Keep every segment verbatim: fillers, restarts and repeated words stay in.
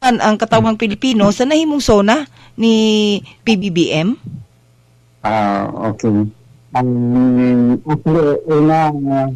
Ang katawhang Pilipino sa nahimong SONA ni P B B M? Ah, okay. Ang actually, una, uh,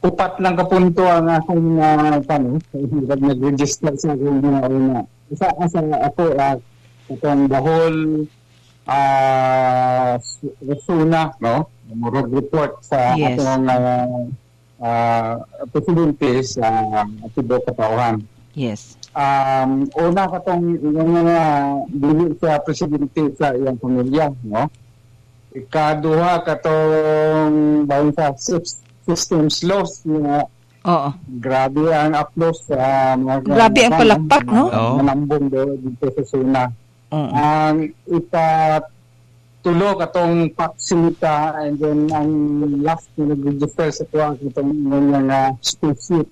upat lang kapunto ang akong uh, ano, nag-register sa akong mga una. Isa, asa ako, uh, itong the whole uh, SONA, no? Murag report sa Yes. atong uh, uh, presidente sa tibuok katawhan. Yes. Um, una katong yung mga dili sa presidente sa iyang pamilya, no? Ikaduha, katong bahin sa sys- systems loss nga Oo. grabe ang applause sa mga Grabe ang palakpak, no? Oo. Manambong do dito sa SONA. Oo. Ang ikatulo, katong Paxita, and then ang last na nag-register sa kuha, katong nga spaceship.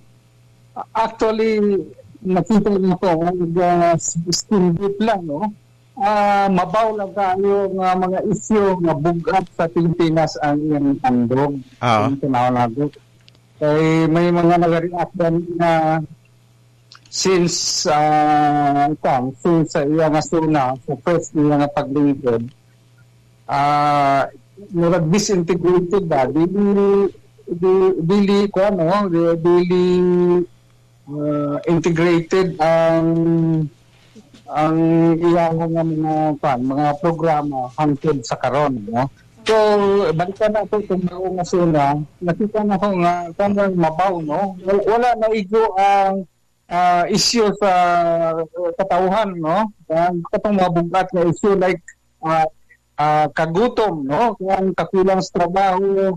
Actually, nakita niyo ko uh, skin deep lang, no? Ah, mabaw lang kayo nga mga isyu nga bugat sa Pilipinas ang iyang tandog. Ah. Ang tanaw nato. Kay may mga nag-react na since uh, since sa iya nga SONA, sa first niya nga paglingkod, ah, murag disintegrated ba, dili di, dili ko ano di, dili uh, integrated ang ang iyang nga mga kwan, mga programa hangtod sa karon, no? So balikan na ko itong bago nga SONA, nakita na ko nga kanang mabaw, no? Wala, wala na igo ang uh, issue sa uh, katawhan, no? Ang katong mga bugat nga issue like uh, uh, kagutom, no? Ang kakulang sa trabaho,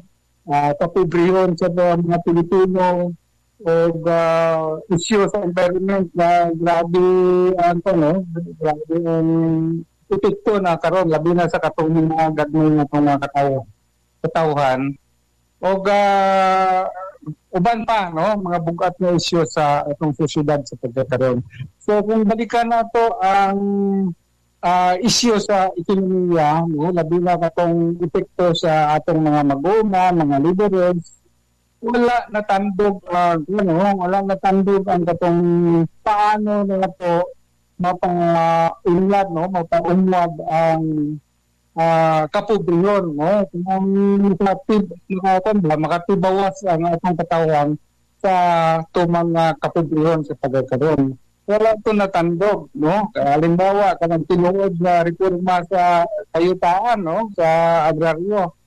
uh, kapobrehon sa mga Pilipino o uh, issue sa environment na grabe ang ano, grabe ang epekto na karon, labi na sa katong mga gagmay nga itong mga kataw katawhan o uh, uban pa, no, mga bugat na issue sa atong sosyedad sa pagkakaroon. So kung balikan nato ang uh, issue sa ekonomiya, no, labi na katong epekto sa atong mga mag-uuma, mga laborers, wala natandog uh, ano, wala natandog ang katong paano na to mapa-unlad, no, mapa-unlad ang uh, kapobrehon, no, kung makatib makakuan ba, makatibawas ang atong katawhan sa tumang uh, kapobrehon sa pagkakaroon. Wala to natandog, no? Halimbawa, kanang tinuod na reforma sa kayutaan, no, sa agraryo,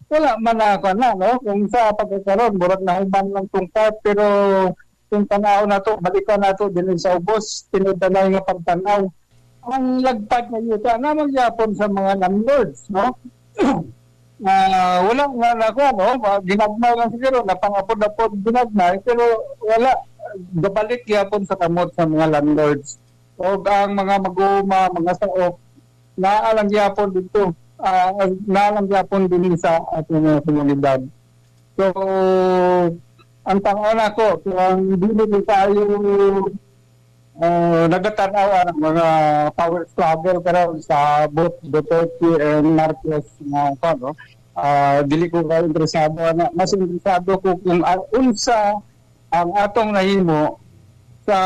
wala man na na, no? Kung sa pagkakaroon, murag nahuman lang tong part, pero kung tanaw na to, balikan na to din sa ubos, tinuod na nga pagtanaw ang lagpad nga yuta na magyapon sa mga landlords, no? Uh, wala nga na ko, no? Ginagmay lang siguro, napangapod-apod ginagmay, pero wala, gabalik gyapon sa kamot sa mga landlords. O ang mga mag-uuma, mga saok, naalang gyapon dito, uh, naalang gyapon din sa ating mga komunidad. So, ang tanaw nako, kung dili ko tayo uh, nagatanaw ang mga power struggle karon sa both Duterte and Marcos na ano, uh, dili ko kayo interesado na, mas interesado ko kung uh, unsa ang atong nahimo sa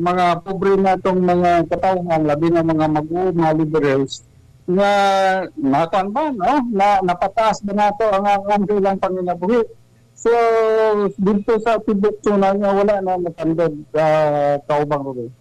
mga pobre natong mga katawhan, labi na mga mag-uuma, laborers, nga nakuan ba, no, na napataas ba nato ang ang ilang panginabuhi. So dito sa tibok nga wala na natandog, uh, kaubang Ruby.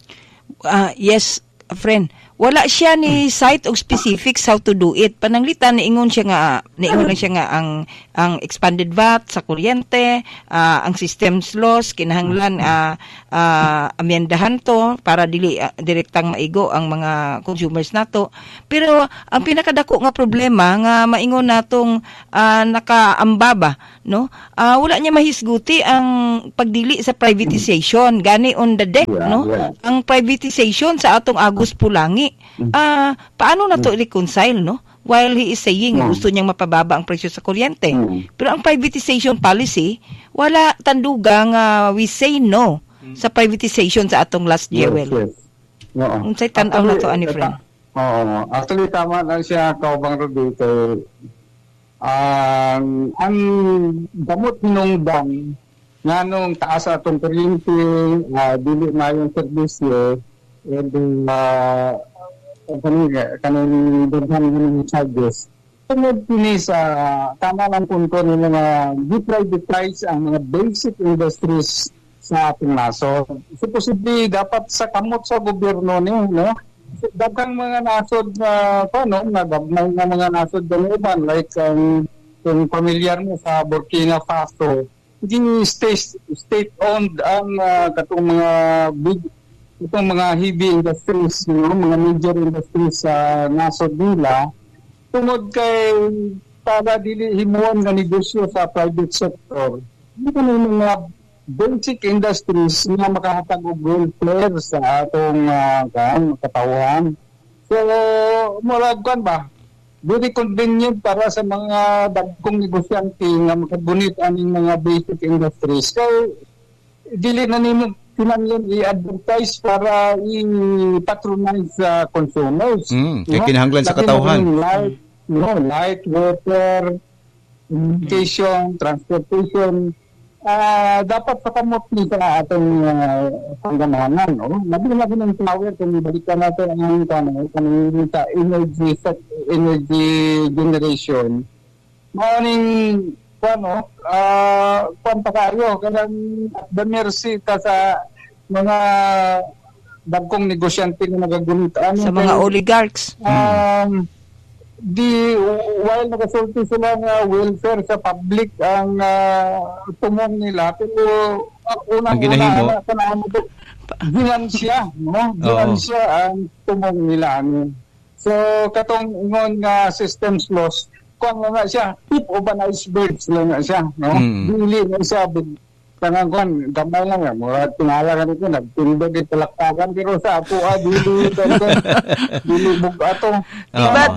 Ah, yes, friend. Wala siya ni cite og specifics how to do it. Pananglitan niingon siya nga niingon lang siya nga ang ang expanded V A T sa kuryente, ah, ang systems loss kinahanglan ah, ah, amyendahan to para dili ah, direktang maigo ang mga consumers nato. Pero ang pinakadako nga problema nga maingon natong ah, nakaamba ba, no? Ah, wala niya mahisguti ang pagdili sa privatization gani on the deck, Yeah, no? yeah. Ang privatization sa atong Agus Pulangi. Ah, paano na to reconcile, no? While he is saying Mm. gusto niyang mapababa ang presyo sa kuryente. Mm. Pero ang privatization policy, wala tanduga nga we say no sa privatization sa atong last Yes, jewel. yes. Oo. Unsay tan-aw na to, ani friend? Oo. Actually, tama lang siya, kaubang Ruby, kay ang ang gamot hinungdan nganong taas atong kuryente, uh, dili maayong serbisyo, And uh, kaning kaning daghan ng charges. Tungod kini sa tama lang po ko nila nga gi-privatize ang mga basic industries sa atong nasod. Supposedly dapat sa kamot sa gobyerno ni, no? Daghang mga nasod na paano, nga gagmay nga mga nasod uban, like ang kung familiar mo sa Burkina Faso, hindi state state owned ang uh, katong mga big, itong mga heavy industries, no? Mga major industries sa nasod nila, tungod kay para dili himuon nga negosyo sa private sector. Hindi ko mga basic industries nga makahatag og welfare sa atong uh, kan, katawhan. So, murag kan ba? Very convenient para sa mga dagkong negosyante nga makagunit aning mga basic industries. Kay dili na nimo kinahanglan i-advertise para i-patronize sa consumers. Mm, kay kinahanglan sa katawhan. Light, no, light, water, communication, transportation, ah dapat sa kamot ni sa atong uh, panggamahanan, no? Labi na ng power kung ibalikan natin ang ano, kanang sa energy sa energy generation. Mao ning ano, ah kuan pa kayo kanang at the mercy ta sa mga dagkong negosyante nga nagagunit ano Sa mga kay- oligarchs. Um, di while nagasulti sila nga welfare sa public ang uh, tumong nila, pero uh, unang Ang ginahimo? Una kana mo ginansya, no? Ginansya ang tumong nila ano. So katong ingon nga systems loss, kuan nga nga siya, tip of an iceberg lang nga siya, no? Mm. Dili na siya big kanang kuan, gamay lang nga, murag tingala ka nito, nagtindog yung talaktakan, pero sa apo ah, dili dili bug ato. Oo. But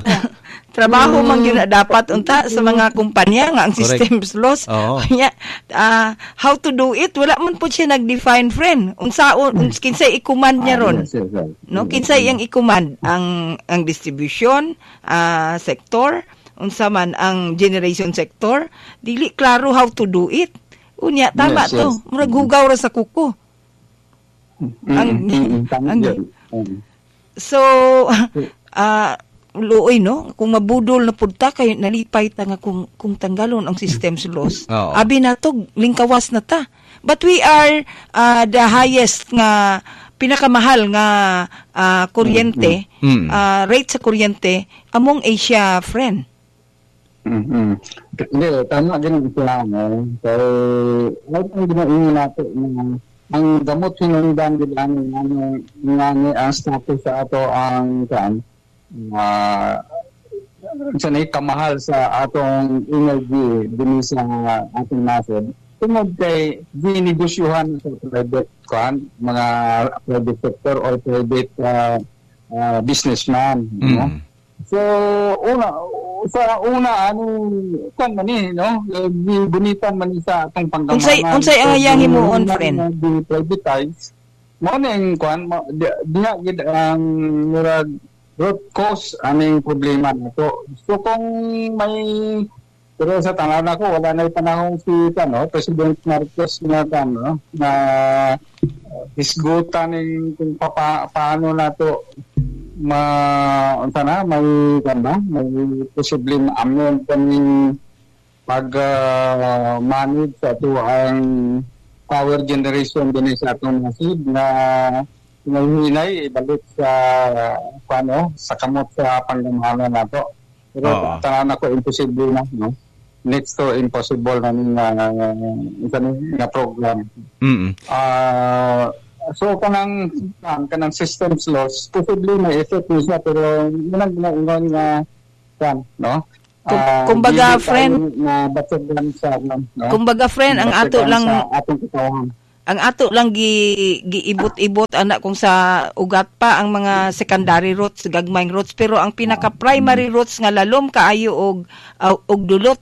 trabaho man gyud na dapat unta sa mga kumpanya nga ang Correct. systems loss. Oo. Nya, ah, how to do it, wala man po siya nag-define, friend. Unsaon, uns kinsay i-command niya ron? Ah, yes, yes, yes. No, kinsay iyang i-command ang ang distribution ah, sector, unsa man ang generation sector, dili klaro how to do it. Unya tama Yes, to. yes. Murag hugaw ra sa kuko. Mm, Ang- mm, mm, tama ang- yun. Mm. So, ah luoy, no, kung mabudol na pud ta kay nalipay ta nga kung kung tanggalon ang systems loss. Oo. Abi na to, lingkawas na ta. But we are ah, the highest nga pinakamahal nga ah, kuryente, Mm. ah, rate sa kuryente among Asia, friend. Mm-hmm. Hindi, tama ganun sila, no? Kaya, ay, ang ginaingon natin, na ang gamot hinungdan gid ani ano nga ni ang status sa ato ang kan uh, sa nay kamahal sa atong energy dinhi sa atong nasod tungod kay ginegosyohan sa private kan, mga private sector or private uh, uh, businessman, no? Mm. So una sa una ano kan man ni, no, gibunitan man ni sa atong panggamanan. Unsay unsay ang iyang himuon, friend? Di privatize mo ning kuan mo di- diha gid ang murag root cause aning problema nato. So kung may, pero sa tanaw nako, wala na panahon si ano, President Marcos na ano na uh, hisgutan ning kung papa, paano nato ma unsa na may kan ba, may posible ma-amend kaning pag uh, manage sa ato ang power generation din sa atong nasod na hinay ibalik sa ano, sa kamot sa panggamahanan nato. Pero Oo. tanan ako, imposible na, no? Next to impossible na ning uh, isa ni nga program. Mm. Ah, so kanang kan kanang systems loss, possibly may effect ni siya, pero munang ginaingon nga kan, no? Kum- Ah, kumbaga, dili tayo friend, na batsagan sa no? Kumbaga, friend, ang ato Batsagan lang sa atong katawhan. Ang ato lang gi giibot-ibot ana kung sa ugat pa ang mga secondary roots, gagmayng roots, pero ang pinaka primary roots nga lalom kaayo og uh, og dulot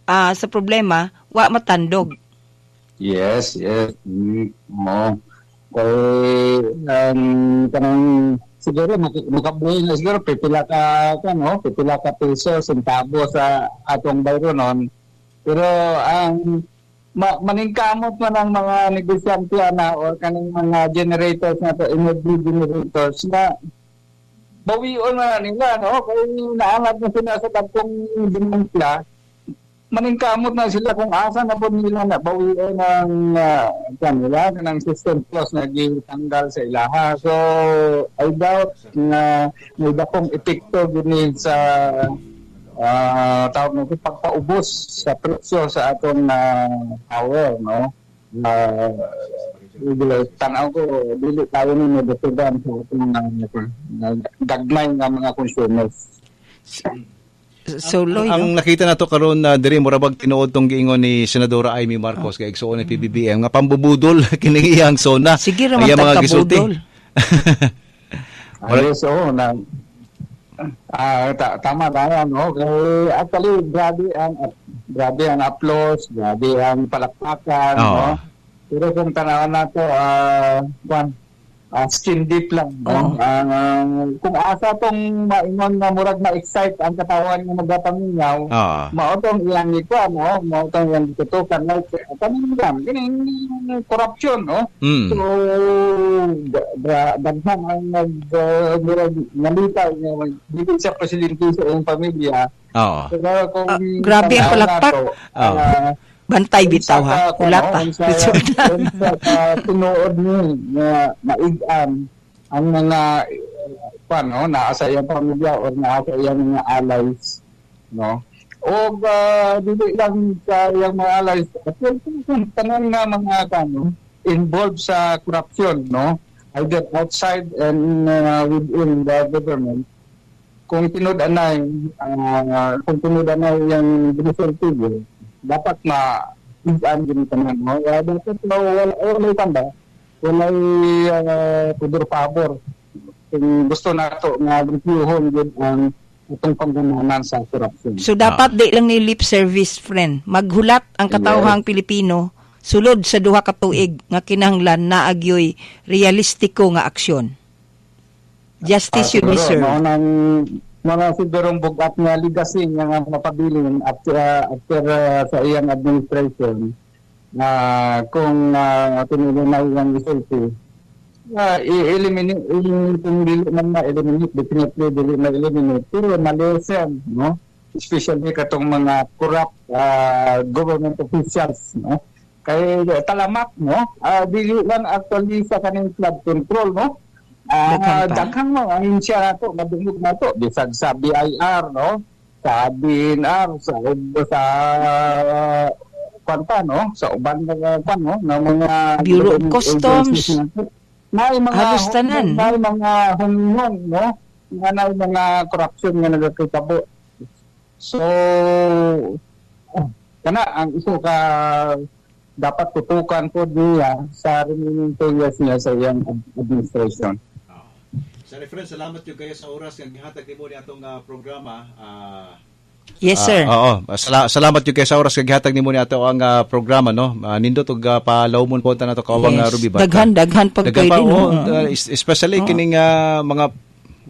ah, sa problema wa matandog. Yes, yes. Mm, oo. Kay um, kanang siguro mak- makabuhi na siguro pipila ka ka no, pipila ka peso, sentabo sa atong bayronon. Pero ang ma maningkamot man ang mga negosyante ana or kaning mga generators na to, energy generators na bawion na nila, no, kay naangat na sila sa dagkong demand, maningkamot na sila kung asa na po nila na bawion ang uh, kanila ng system clause na gitanggal sa ilaha. So I doubt na may dakong epekto gini sa uh, tawag nito, pagpaubos sa presyo sa atong uh, power, no. Uh, tanaw ko dili tayo ni madatugan sa atong uh, gagmay nga mga consumers. So, Loy, ang no? Nakita nato karon na diri, mura bag tinuod tong giingon ni Senadora Imee Marcos kay igsuon ni P B B M nga pambubudol kini iyang SONA. Sige ra man Iyang mga gisulti. Tagkabudol. Ah, yes, oo, na ah ta- tama tama, no, kay actually grabe ang grabe ang applause, grabe ang palakpakan, Oo. no, pero kung tanawan nato, ah kwan, ah, skin deep lang, no. Oo. Ah, kung asa tong maingon nga murag ma-excite ang katawan nga magapamingaw, Oo. mao tong iyang ikuan, no, mao tong iyang tutukan, like kaning lang kining corruption, no. Mm. So da- daghan ang nag uh, murag nalitay nga dili sa presidente sa iyang pamilya. Oo. Pero kung Ah, grabe ang tanaw palakpak. nato, Oo. ah, Bantay bitaw ha. unsa ka, Wala kuno, pa. Unsa, unsa ka tinuod ni nga maig-an ang mga eh, no, naa sa iyang pamilya or naa sa iyang mga allies, no? O uh, dili lang sa iyang mga allies, kung tanan nga mga kano involved sa corruption, no? Either outside and uh, within the government, kung tinud anay uh, kung tinud anay yung gisulti, dapat na igan din tanan, no. Uh, dapat no, wala wala tanda, walay uh, pudor pabor kung gusto nato nga reviewhon gud ang itong panggunanan sa corruption. So dapat di lang ni lip service, friend. Maghulat ang katawhang Pilipino sulod sa duha ka tuig nga kinahanglan naa gyoy realistiko nga aksyon. Justice should be Siguro, served. Mao nang mao nang sigurong bugat nga legacy nga nga mapabilin after, uh, after uh, sa iyang administration na kung uh, tinuloy na iyang resulti, uh, i-eliminate, i- kung dili man ma-eliminate, definitely dili ma-eliminate, pero ma-lessen, no, especially katong mga corrupt uh, government officials, no, kay talamak, no. uh, dili lang actually sa kaning flood control, no. Ah, Daghan pa. Daghan mo ang siya nato madungog nato bisag sa B I R, no, sa D E N R, sa sa kwan pa, no, sa uban nga kwan, no, nga mga Bureau of government Customs. agencies nato. Naay mga Halos tanan. Naay mga hunghong, no, nga naay mga corruption nga nagakitabo. So oh, kana ang iso ka dapat tutukan po niya sa remaining two years niya sa iyang administration. Sir Efren, salamat yung kayo sa oras nga gihatag nimo ni atong ah, programa. Ah, Yes, sir. Ah, oo. Sala- salamat yung kayo sa oras nga gihatag nimo ni ato ang ah, programa, no. Uh, nindot og uh, palawmon po ta nato kaubang Yes. uh, Ruby Bata. Daghan, daghan pag Daghan pa, pwede, no? oo. Uh, es- especially kining ah, mga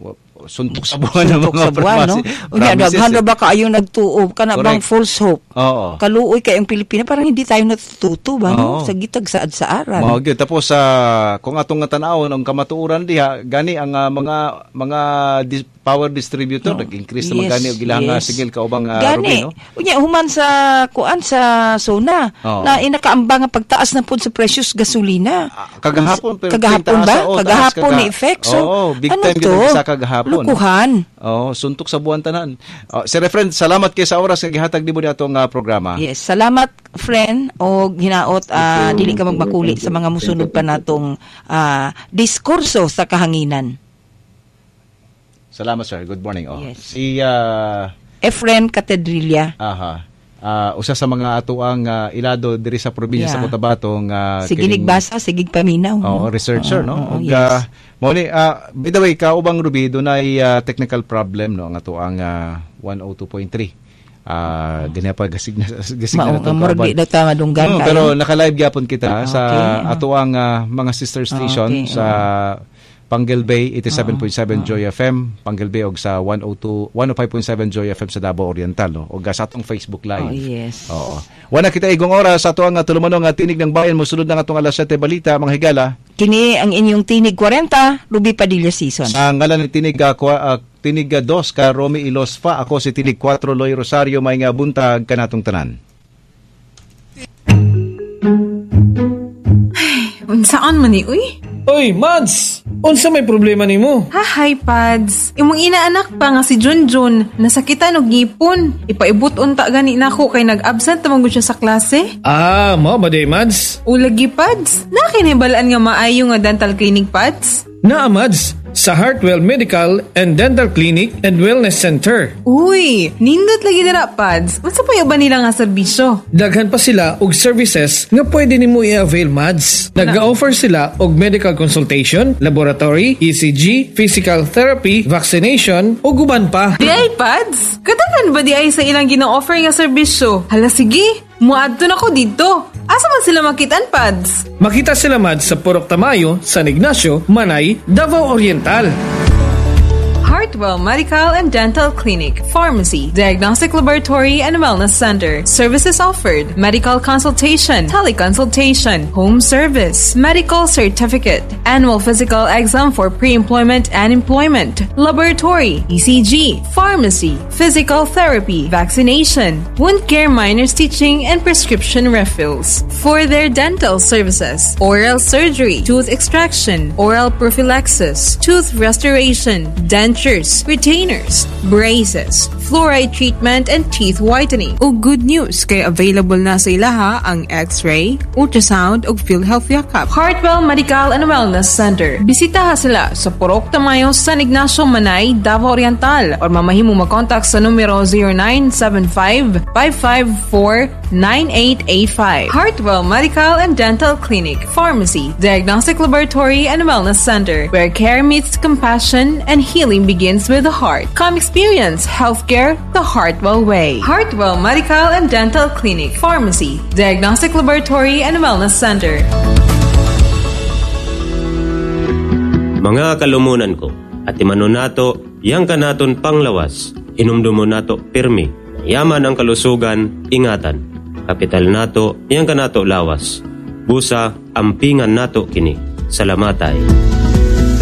wa- suntok sa buwan ng Suntok mga sa buwan, no? promises- Unya, promises, daghan eh. ra ba kaayo nagtuo kana bang Correct. false hope? Oo. Kaluoy kay ang Pilipinas, parang hindi tayo natututo ba, no? Oo. Sa gitag saad sa aran. Mao gyud. Tapos sa kung atong nga tan-awon ang kamatuoran diha gani ang ah, mga mga dis- power distributor nag-increase naman gani og ilang ah, yes. singil, kaubang uh, Gani. Ruby, no? Unya human sa kuan sa SONA Oo. na inakaambang ang pagtaas na pud sa presyos gasolina. Ah, kagahapon pero Kagahapon taas, ba? oo, taas, Kagahapon kaga- ni effect. So, Oo, big ano time to? gyud sa kagahapon. Lukuhan. Oh, suntok sa buwan tanan. Oh, Sir Efren, salamat kay sa oras nga gihatag nimo ni atong ah, programa. Yes, salamat, friend, og hinaot ah, dili ka magmakuli sa mga musunod pa natong ah, diskurso sa kahanginan. Salamat, sir. Good morning. Oh. Yes. Si ah, Efren Catedrilla. Aha. Ah, usa sa mga atuang ah, ilado diri sa probinsya Yeah. sa Cotabato nga Sige kining- nagbasa, sige paminaw. Oo, researcher, no? Oo, Ug yes. ah, mao ni ah, by the way, kaubang Ruby, dunay ah, technical problem, no, ang atuang ah, one oh two point three. Ah, uh, pa gasig na gasig Mao na nga murag di daw ta madunggan Mm, kayo. pero naka-live gyapon kita sa Okay, ah. atuang ah, mga sister station Okay, sa Panguil Bay eighty-seven point seven Joy F M Panguil Bay og sa one oh two one oh five point seven Joy F M sa Davao Oriental, no, og sa atong Facebook Live. Oh, yes. Oo. Wala kita igong oras sa ato ang tulumanon nga Tinig ng Bayan. Mosulod na atong alas siyete balita, mga higala. Kini ang inyong Tinig forty, Ruby Padilla Season. Sa ngalan ni Tinig uh, kwa- uh, Tinig two ka Romy Ilosfa, ako si Tinig four Loy Rosario, may nga buntag kanatong tanan. Unsaan man ni, uy? Oy, Mads! Unsa may problema nimo? Ha, hi, Pads. Imong inaanak pa nga si Junjun, nasakitan og ngipon. Ipaibot unta gani nako kay nag-absent man gud siya sa klase. Ah, mao ba day, Mads? Ulagi, Pads. Nakinibalaan nga maayo nga dental clinic, Pads? Naa, Mads, sa Heartwell Medical and Dental Clinic and Wellness Center. Uy, nindot lagi dira, Pads. Unsa pa ba nila nga serbisyo? Daghan pa sila og services nga pwede nimo i-avail, Mads. Nag-offer sila og medical consultation, laboratory, E C G, physical therapy, vaccination, ug uban pa. Di ay, Pads? Kadaghan ba di ay sa ilang gina-offer nga serbisyo? Hala sige, muadto na ko dito. Asa man sila makitaan, Pads? Makita sila, Mads, sa Purok Tamayo, San Ignacio, Manay, Davao Oriental. Heartwell Medical and Dental Clinic, Pharmacy, Diagnostic Laboratory and Wellness Center. Services offered: medical consultation, teleconsultation, home service, medical certificate, annual physical exam for pre-employment and employment, laboratory, E C G, pharmacy, physical therapy, vaccination, wound care minor stitching, and prescription refills. For their dental services, oral surgery, tooth extraction, oral prophylaxis, tooth restoration, dentures, retainers, braces, fluoride treatment, and teeth whitening. O good news, kay available na sa ilaha ang X-ray, ultrasound, ug PhilHealth Yakap. Heartwell Medical and Wellness Center. Bisitaha sila sa Purok Tamayo, San Ignacio, Manay, Davao Oriental or mamahimo makontak sa numero zero nine seven five, five five four, nine eight eight five. Heartwell Medical and Dental Clinic, Pharmacy, Diagnostic Laboratory and Wellness Center, where care meets compassion and healing begins with the heart. Come experience healthcare the Heartwell way. Heartwell Medical and Dental Clinic, Pharmacy, Diagnostic Laboratory and Wellness Center. Mga kalumunan ko, at imano nato, yang kanaton panglawas, hinumdumo nato pirmi, yaman ang kalusugan, ingatan. Kapital nato, yang kanato lawas. Busa, ampingan nato kini. Salamatay.